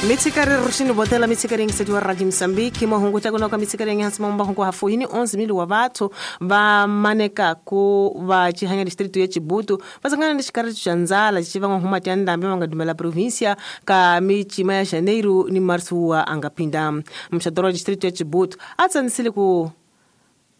Mitsikari ruxini botela mitsikari ngisetiwa Radio Mozambique mahungu ta kunoka mitsikari ngihansi mahungu hafuhini 11,000 wa vathu va maneka ku va chihanya distrito ya Chibutu vasangana ni xikari xa ndzala xi va huma tya ndambe va nga dumela provincia ka michima ya Janeiro ni Março wa angapinda mxadoro wa distrito ya Chibutu a tsanisile ku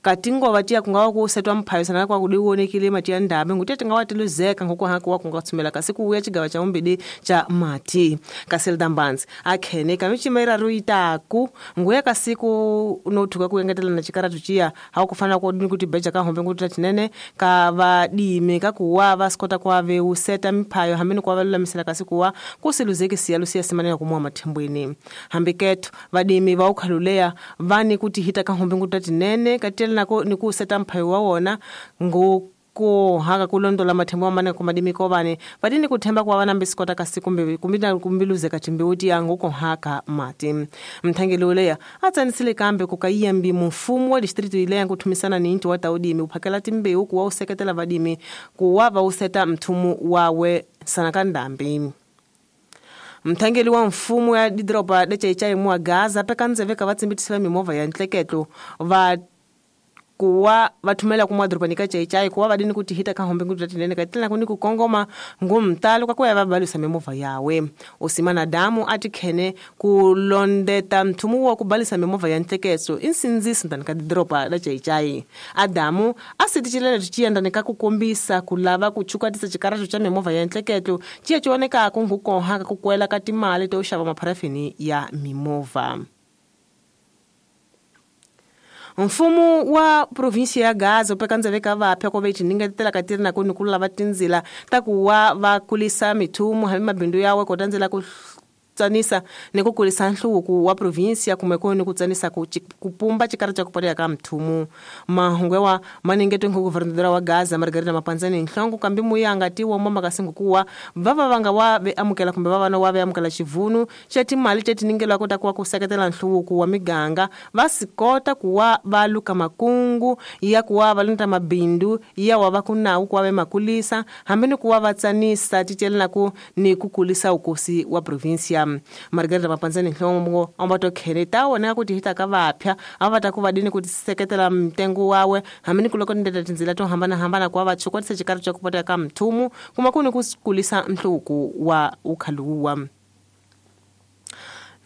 katingova tiya kungawa ku setwa mphayisana kwa kudiwonekile mati ya ndambe nguti tingawa tiluzeka ngokuhaka wa kungatsumela kasi kuuya chigava cha umbidi cha mati Kaselda Mbanzi akhene kamichima iraru itaku nguya kasiku unothuka kuengetela na chikaratu chiya haukufana kodini kuti beja kahombe nguti tinene ka vadime kakuwa vasikota kwa veuseta mphayo hamene kwa valulamisela kasi kuwa kusiluzeki siya lusiya simanena kumwa mathembweni hambiketho vadimi va ukhaluleya vani kuti hita kahombe nguti tinene katela nako nikuseta mphayo wa wona ngo haka kulondola mathembo wa mane kumadimi kovane vadini kuthemba kwa vana mbisikota kasi kumbe kumbiluzeka timbiuti yangu kohaka mati mthangeli uleya atsanisile kambe kukayiyambi mfumo wa distrito ileya kuthumisana ni inti wa taudimi uphakela timbewu kuwa useketela vadimi kuwa va useta mthumu wawe sana ka ndambi. Mthangeli wa mfumo ya didropa lechaichai mwa Gaza pekanzeveka vatsimbitisa mimovha ya ntleketlo va kuwa vathumela kumwa doroba nika chaichai kuwa vadini kuti hita kahombe nguti tinene katila kuni kukongoma ngumtalo kwakuya vabalisa mimovha yawe usimana damu ati khene kulondeta mthumu wa kubalisa mimovha ya ntleketso insindziso ndani ka doroba la chaichai adamu asitichilele tichiyenda nika kukombisa kulava kuchukatisa chikarato cha mimovha ya ntleketso chiya chioneka kungukoha kukwela ka timali to xava mapharafini ya mimovha. Mfumo wa provinsia ya Gaza upekanzeveka vapya kwa vechi ningetela katiri na kuni kulava tinzila takuwa vakulisa mithumu hambi mabindu yawe kotanzela ku tsanisa ni kukulisa nhluvuko wa provinsia kumbe ni kutsanisa kupumba chikari cha kupotea ka mthumu mahungu maningeto ngu governadora wa Gaza Margarita Mapanzani nhlongo kambi muyanga tiwa mama kasingu kuwa vava vanga wa ve amukela kumbe vava no wa ve amukela chivunu cha timali chetiningelwa kota kuwa kuseketela nhluvuko wa miganga vasikota kuwa valuka makungu ya kuwa valunta mabindu ya wa vakunau kuwa ve makulisa hambi ni kuwa vatsanisa tichelela ku ni kukulisa ukosi wa provinsia. Margarita Mapanzani nhlongo ambato khereta wona kuti hita ka vapya avata ku vadini kuti seketela mtengo wawe hamini kuloko ndeta tinzila to hambana hambana kwa vachukwatisa chikari cha kupota ka mthumu kuma kuni kukulisa nhluvuko wa ukhaluwa.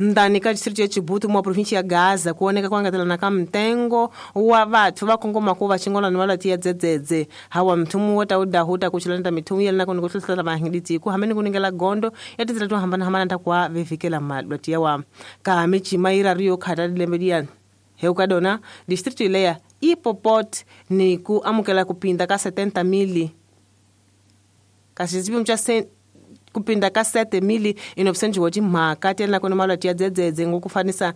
Ndani ka distrito ya Chibutu mwa provinsia ya Gaza kuoneka kwangatela ka mtengo wa vathu va kongoma ku va xingona ni valati ya dzedzedze hawa mthumu wo ta udahuta kuchilanda mithumu yelena ku ni ku hlohlela vahingiditsi ku hamene ku ningela gondo ya tindzela to hambanahambana ta kuwa vevikela malwati yawa ka michima iraru yo khata lembe liya heukadona distrito ileya ipopot ni ku amukela kupinda ka 70,000 kasi xipimo xa kupinda ka 7,900 wa timhaka ti na kona malwati ya dzedzedze ngokufanisa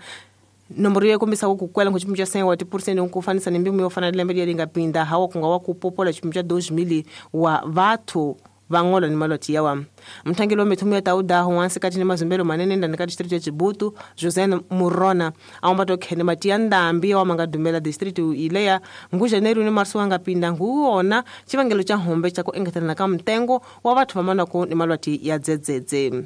nomboro yo kombisa ku kukwela ngo xipimo xa 7% ngokufanisa ni mbimo yo fana lembe leri nga pinda hawa kunga wa kupopola xipimo xa 2,000 wa vathu vangola ni malwati yawa. Mthangeli wa mithumu ya taudaho wansi kati ni mazumbelo manene ndani ka distrito ya Chibutu José Murona awambato khene mati ya ndambi wa manga dumela distrito ileya ngu Janeiro ni Março wanga pinda nguwona chivangelo cha hombe cha ku engetelana ka mtengo wa vathu vamanako ni malwati ya dzedzedze.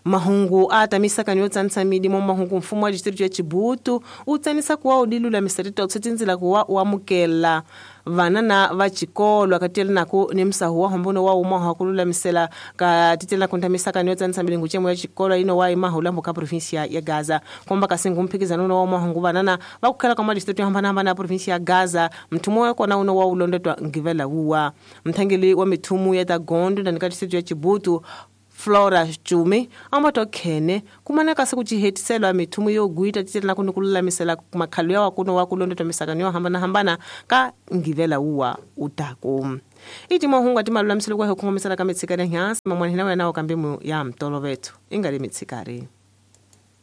Mahungu atamisaka yo tsanisa midimo mahungu mfumo wa distrito ya Chibutu utsanisa kuwa udilulamisela titotse kuwa uamukela vanana va chikolo akatela nako ni msahu wa hombono wa uma wa kululamisela ka titela kuntamisaka yo tsanisa milingu chemo ya chikolo ino wa imahulambo ka provinsia ya Gaza komba kasingu mphikizano no wa mahungu vanana va kukhela ka madistrito hambana hambana ya provinsia ya Gaza mthumo wa kona uno wa ulondetwa ngivela wuwa mthangeli wa mithumu ya tagondo ndani ka distrito ya Chibutu Flora Chumi ambato khene kumana kasi kuchihetiselwa mithumu yo guita titela kunukululamisela makhalo ya wakuno wakulondetwa misakano yo hambana hambana ka ngivela uwa utaku iti mahungu ati malulamiselo kwa hukongomisela ka mitsikari nyansi mamwanhina wena wakambimu ya mtolo vethu ingali mitsikari.